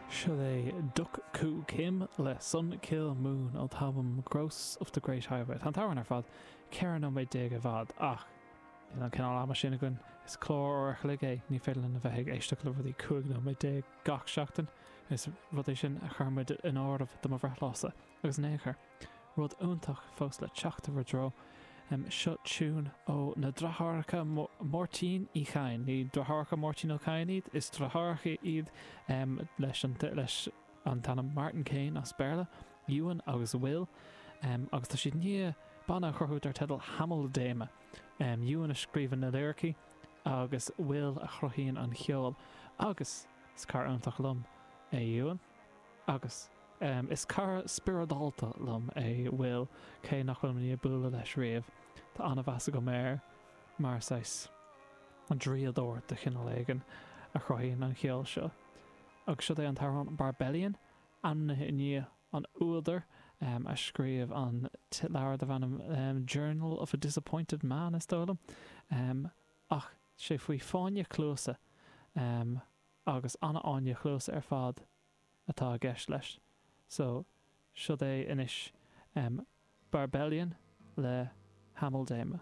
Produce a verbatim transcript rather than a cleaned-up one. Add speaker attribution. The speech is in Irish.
Speaker 1: Seo é Duk Koo Kim le Sun Kil Moon ó t-albam Ghosts of the Great Highway. Tá an t-amhrán ar fad ceithre nóiméad déag i bhfad ach níl an cineál ama sin againn is clár uair a chloig é ní féidir linn a bheith ag éisteacht le rudaí cúig nóiméad déag gach seachtain is rud é sin a chuir muid in áirithe do mo bhreithlá-sa agus in aon chor. Rud iontach fós le teacht i bhur dtreo. Seo tiún ó na deartháireacha Máirtín Uí Chadhain. Ní deartháireacha Máirtín Ó Cadhain iad, is deartháireacha iad leis an leis an t-ainm Martin Kane as Béarla, Ewan agus Will, agus tá siad i ndiaidh banna a chruthú dar teideal Hameldaeme. Ewan a scríobhann na liricí agus Will a chruthaíonn an ceol. Agus is cara iontach liom é Ewan. Agus is cara spioradálta liom é Will, cé nach bhfuil mé i ndiaidh bualadh leis riamh. Tá an-mheas agam air mar saghas draíodóir de chineál éigin a chruthaíonn an cheol seo. Agus seo é an t-amhrán Barbellion, ainmnithe i ndiaidh an údair a scríobh an leabhar darb ainm Journal of a Disappointed Man, is dóigh liom. Ach sé faoi fáinne cluasa agus an-fháinne chluasa ar fad atá i gceist leis. So, seo é anois Barbellion le Hameldaeme.